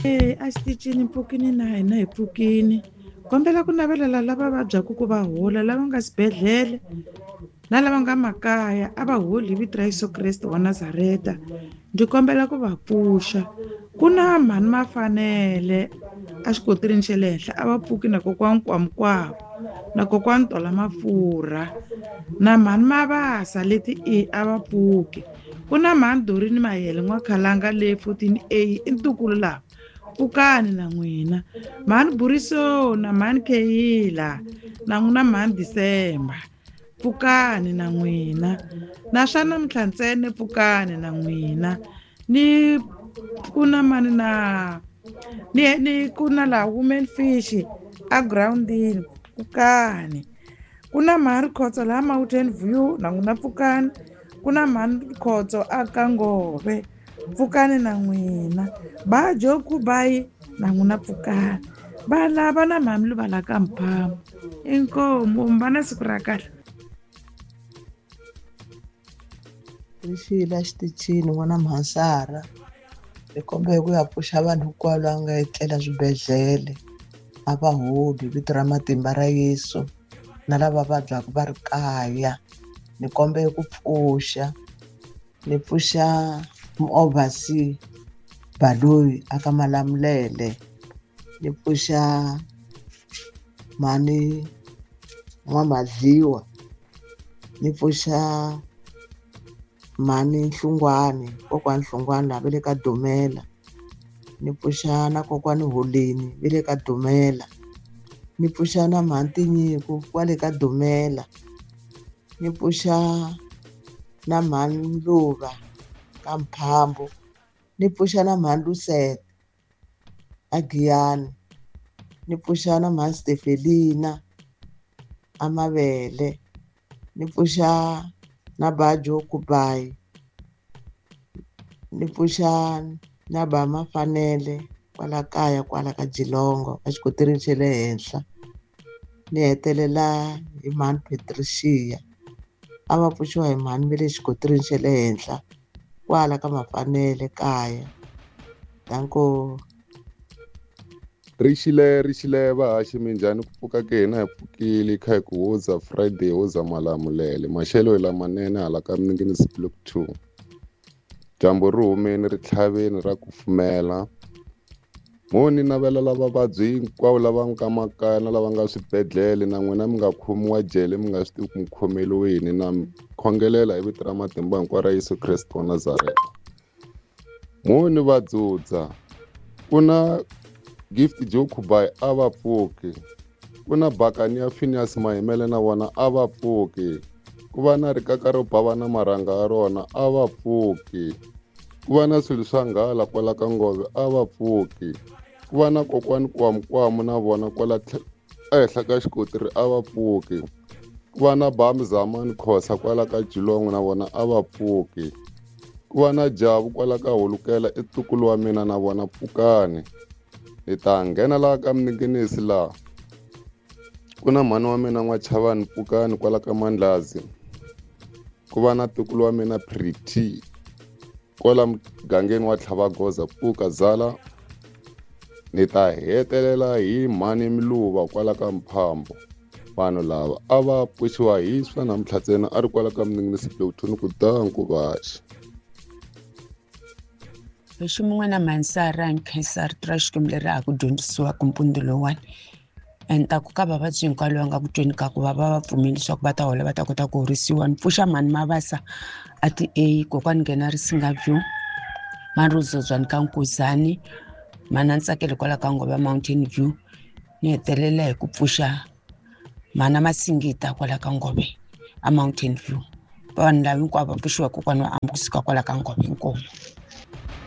E a xitichini mpfukini na hina hi pfukini. Kombela ku navelela lava vabyaka ku va hola, lava nga swibedhlele na lava nga makaya, a va holi hi vito ra Yeso Kreste wa Nazareta. Ndzi kombela ku va pfuxa. Ku na mhani Mafanele a xikoteleni xa le henhla, a va pfuki na kokwani Kwamkwama na kokwani Tola Mafurha na mhani Mabasa leti e a va pfuki. Ku na mhani Dorini Mayele N'wakhalanga le 14 A i ntukulu lava, pfukani na n'wina. Mhani Buriso na mhani Kheyila na n'wina mhani December, pfukani na n'wina. Na swa namuntlha ntsena pfukani na n'wina. Ni ku na mani na ni ni ku na laha Women Fish a girawundini, pfukani. Ku na mhani Khotso laha Mountain View na n'wina pfukani. Ku na mhani Khotso a ka Ngove, pfukani na n'wina. Ba Joku Bayi na n'wina pfukani. Va lava na mhani Luvala ka Mphamo. Inkomu, va na siku ra kahle. Rixile exitichini n'wana Mhansara, hi kombela ku ya pfuxa vanhu hinkwavo lava nga etlela swibedhlele, a va holi hi vito ra matimba ra Yesu, na lava vabyaka va ri kaya. Ni kombela ku pfuxa, ni pfuxa muovhasi Baloyi aka Malamulele, ni pfuxa mhani N'wamadliwa, ni pfuxa mhani Nhlungwani, kokwani Nhlungwani laha va le ka Dumela, ni pfuxa na kokwani Holeni va le ka Dumela, ni pfuxa na mhani Tinyiko kwale ka Dumela, ni pfuxa na mhani Mluva ka Mphambo, ni pfuxa na mhani Lusete a Giyani, ni pfuxa na mhani Stefelina a Mavele, ni pfuxa na Bajo Kubayi, ni pfuxa na ba Mafanele kwala kaya kwala ka Jilongo a xikoteleni xa le henhla. Ni hetelela hi mhani Patricia, a va pfuxiwa hi mhani va le xikoteleni xa le henhla kwala ka Mafanele kaya. Danko. Rixile, rixile vahaxi, minjhani? Ku pfuka ke hina hi pfukile kha hi ku hoza Friday, hoza Malamulele. Maxelo hi lamanene hala ka Minginisi Block 2. Dyambu ri humeni ri tlhaveni ra kufumela. Mo ni navela lava vabyi hinkwavo lava nga makaya na lava nga swibedhlele, na n'wina mi nga khomiwa jele mi nga swi tivi ku mi khomeliwe yini, na mi khongelela hi vito ra matimba hinkwaro ra Yesu Kreste wa Nazareta. Mo ni va dzudza, ku na Gift Joe Kubayi a va pfuki, ku na Bakani ya Phineas Mahimele na vona a va pfuki, ku va na rikaka ro bava na marhanga ya rona a va pfuki, ku va na swilo swa nghala kwala ka Ngove a va pfuki, ku va na kokwani Kwamukwamu na vona kwala ehenhla ka xikotiri a va pfuki, ku va na Bami Zamani Khosa kwala ka Jilongo na vona a va pfuki, ku va na Jabu kwala ka Holukela i ntukulu wa mina na vona pfukani. Hi ta nghena laha ka Minginisi laha ku na mhani wa mina N'wachavani pfukani kwala ka Mandlazi, ku va na ntukulu wa mina Pretty kwala mugangeni wa Tlhavagoza pfuka zala. Ni ta hetelela hi mhani Miluva kwala ka Mphambo. Vanhu lava a va pfuxiwa hi swa namuntlha ntsena a ri kwala ka Minginisi Block 2 ni ku danku vaxi. Lexi mun'wana Mhansara hi nkhensa rito ra Xikwembu leri ha ku dyondzisiwaka mpundzu lowuwani. And ta ku ka vavabyi hinkwavo lava nga ku tweni ka ku va va va pfumeli leswaku va ta hola va ta kota ku horisiwa. Ni pfuxa mhani Mabasa a ti A, kokwani nghena Risinga View, mhani Rozodzwani ka Nkuzani, mhani a Ntsakelo kwala ka Ngove Mountain View. Ni hetelela hi ku pfuxa mhana Masingita kwala ka Ngove a Mountain View. Vanhu lava hinkwavo va pfuxiwa kokwani wa Ambusi kusuka kwala ka Ngove. Inkomu.